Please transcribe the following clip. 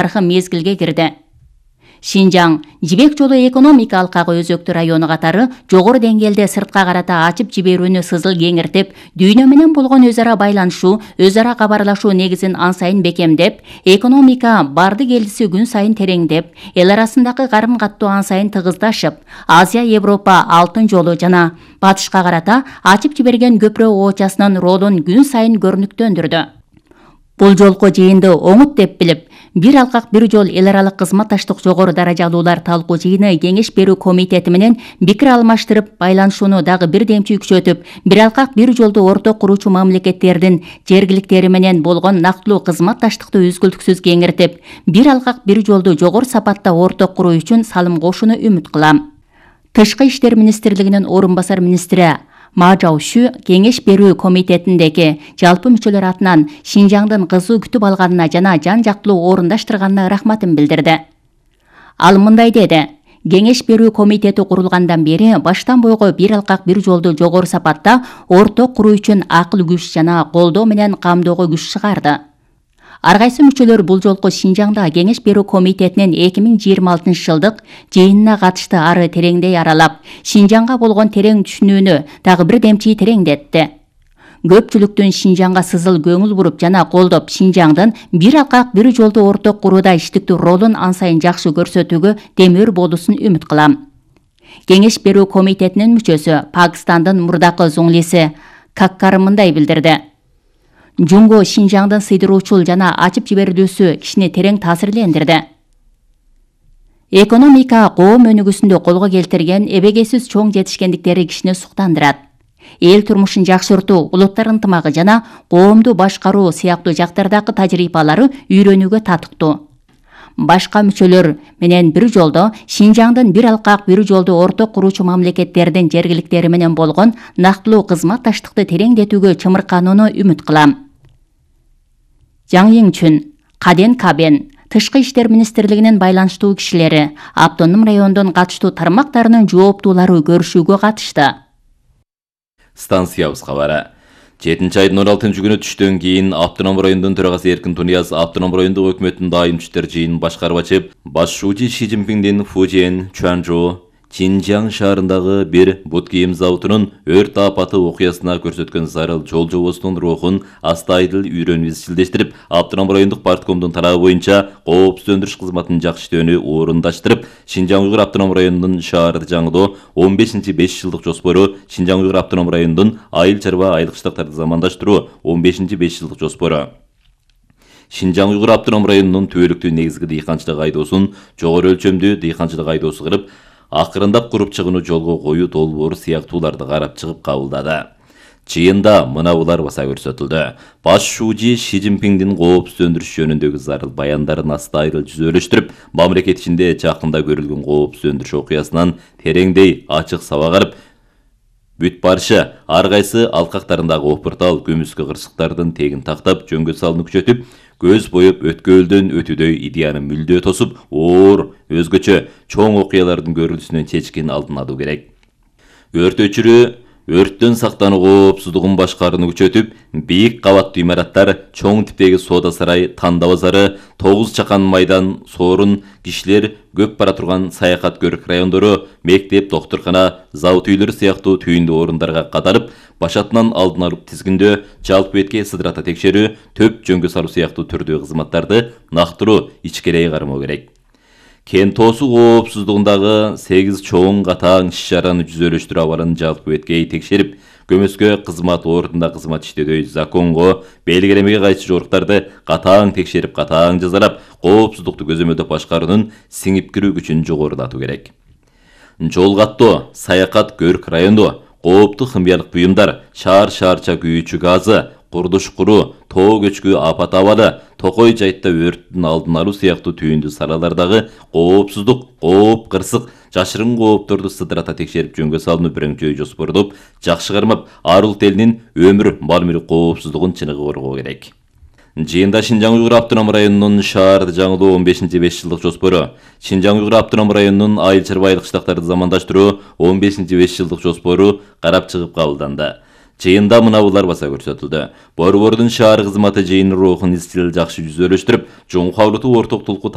тарыхый мезгилге кирди. Шинжаң Жибек жолу экономика алкагы өзөктүү району катары жогору деңгээлде сыртка карата ачып жиберүүнү сызыл кеңиртип, дүйнө менен болгон өз ара байланышуу, өз ара кабарлашуу негизин ан сайын бекемдеп, экономика барды келдиси күн сайын тереңдеп, эл арасындагы карын каттоо ан сайын тыгыздашып, Азия, Европа алтын жолу жана батышка карата ачып жиберген көпүрө оочасынын ролун күн сайын көрүнүктөндүрдү. Бул жолку жыйынды оңут деп билип, бир алкак бир жол эл аралык кызматташтык жогору даражалуулар талкуу жыйыны кеңеш берүү комитети менен пикир алмаштырып, байланышууну дагы бир демчи күчөтүп, бир алкак бир жолду орток куруучу мамлекеттердин жергиликтери менен болгон нактылуу кызматташтыкты үзгүлтүксүз кеңиртип, бир алкак бир жолду жогору сапатта орток куруу үчүн салым кошууну үмүт кылам. Тышкы иштер министрлигинин орун басар министри Ма Жаошу кеңеш берүү комитетиндеги жалпы мүчөлөр атынан Шинжаңдын кызуу күтүп алганына жана жан жактылуу орундаштырганына рахматын билдирди. Ал мындай деди: кеңеш берүү комитети курулгандан бери баштан бойго бир алкак бир жолду жогору сапатта орток куруу үчүн акыл күч жана колдоо менен камдоого күч чыгарды. Ар кайсы мүчөлөр бул жолку Шинжаңда кеңеш берүү комитетинин 2026 жылдык жыйынына катышты ары тереңдей аралап, Шинжаңга болгон терең түшүнүүнү дагы бир демчи тереңдетти. Көпчүлүктүн Шинжаңга сызыл көңүл буруп жана колдоп, Шинжаңдын бир алкак бир жолду орток курууда иштиктүү ролун ан сайын жакшы көрсөтүүгө демир болуусун үмүт кылам. Кеңеш берүү комитетинин мүчөсү Пакистандын мурдакы зуңлиси Каккар мындай билдирди: Жунго Шинжаңдын сыйдыруучул жана ачып жиберилүүсү кишини терең таасирлендирди. Экономика коом өнүгүүсүндө колго келтирген эбегейсиз чоң жетишкендиктери кишини суктандырат. Эл турмушун жакшыртуу, улуттар ынтымагы жана коомду башкаруу сыяктуу жактардагы тажрыйбалары үйрөнүүгө татыктуу. Башка мүчөлөр менен бир жолдо Шинжаңдын бир алкак бир жолду орток куруучу мамлекеттердин жергиликтери менен болгон нактылуу кызматташтыкты тереңдетүүгө чымырканууну үмүт кылам. Жаң Йиңчүн, Каден Кабен, Тышкы иштер министрлигинин байланыштуу кишилери, автоном райондун катыштуу тармактарынын жооптуулары көрүшүүгө катышты. Станциябыз кабары. 7-айдын 16 күнү түштөн кийин автоном райондун төрагасы Эркин Тунияз автоном райондук өкмөттүн дайым иштер жыйынын башкарып ачып, башчуучу Ши Цзиньпиндин Фужиэн, Чуанчжоу, Чинжаң шаарындагы бир бут кийим заводунун өрт апаты окуясына көрсөткөн зарыл жол жобосунун рухун астайдыл үйрөнүп изчилдештирип, автоном райондук парткомдун тарабы боюнча коопсуз өндүрүш кызматынын жакшы иштөөнү орундаштырып, Шинжаң Уйгур автоном районунун шаарды жаңылоо 15-5 жылдык жоспору, Шинжаң Уйгур автоном районунун айыл чарба айыл кыштактарды замандаштыруу 15-5 жылдык жоспору. Шинжаң Уйгур автоном районунун түбөлүктүү негизги дыйканчылык айдоосун жогору өлчөмдүү дыйканчылык айдоосу кырып, акырындап куруп чыгууну жолго коюу долбоору сыяктууларды карап чыгып кабылдады. Жыйында мына булар баса көрсөтүлдү. Баш шуужи Ши Цзиньпиндин коопсуз өндүрүш жөнүндөгү зарыл баяндарын астайдыл жүзөлөштүрүп, мамлекет ичинде жакында көрүлгөн коопсуз өндүрүш окуясынан тереңдей ачык сабак алып, бүт барышы ар кайсы алкактарындагы опуртал көмүскө кырсыктардын тегин тактап, жөнгө салууну күчөтүп, көз боюп өткөлдөн өтүүдөй идеяны мүлдө тосуп, оор, өзгөчө чоң окуялардын көрүлүшүнөн чечкин алдын алуу керек. Өрт өчүрүү өрттөн сактануу коопсуздугун башкарууну күчөтүп, бийик кабаттуу имараттар, чоң типтеги соода сарай, танда базары, 9 чакан майдан, сорун, кишилер көп бара турган саякат көрүк райондору, мектеп, доктуркана, завод үйлөрү сыяктуу түйүндүү орундарга катарып, башатынан алдын алып тизгиндөө, жалпы бетке сыдырата текшерүү, төп жөнгө салуу сыяктуу түрдүү кызматтарды нактыруу ичкерей кармоо керек. Кен тоосу коопсуздугундагы 8 чоң катаң иш-чараны жүзөлөштүрүү абалын жалпы беткей текшерип, көмөскө кызмат ордунда кызмат иштөөдөй законго, белгилемеге кайшы жоруктарды катаң текшерип, катаң жазалап, коопсуздукту көзөмөлдөп башкаруунун сиңип кирүү күчүн жогорулатуу керек. Жол каттоо, саякат көрүк райондо кооптуу химиялык буюмдар, шаар-шаарча күйүүчү газы, курдуш куруу, тоо көчкү апат абалы, токой жайтта өрттүн алдын алуу сыяктуу түйүндүү салалардагы коопсуздук, кооп, кырсык, жашырын коопторду сыдырата текшерип жөнгө салууну бирөңчөй жоспордоп, жакшы кармап, ар улут элинин өмүр, мал-мүлк коопсуздугун чыныгы коргоо керек. Жыйында Шинжаң Уйгур автоном районунун шаарды жаңылоо 15-5 жылдык жоспору, Шинжаң Уйгур автоном районунун айыл чарба айыл кыштактарды замандаштыруу 15-5 жылдык жоспору карап чыгып кабылданды. Жыйында мынабулар баса көрсөтүлдү. Борбордун шаар кызматы жыйын рухун изчил жакшы жүзөлөштүрүп, жоң кабылтуу орток тулку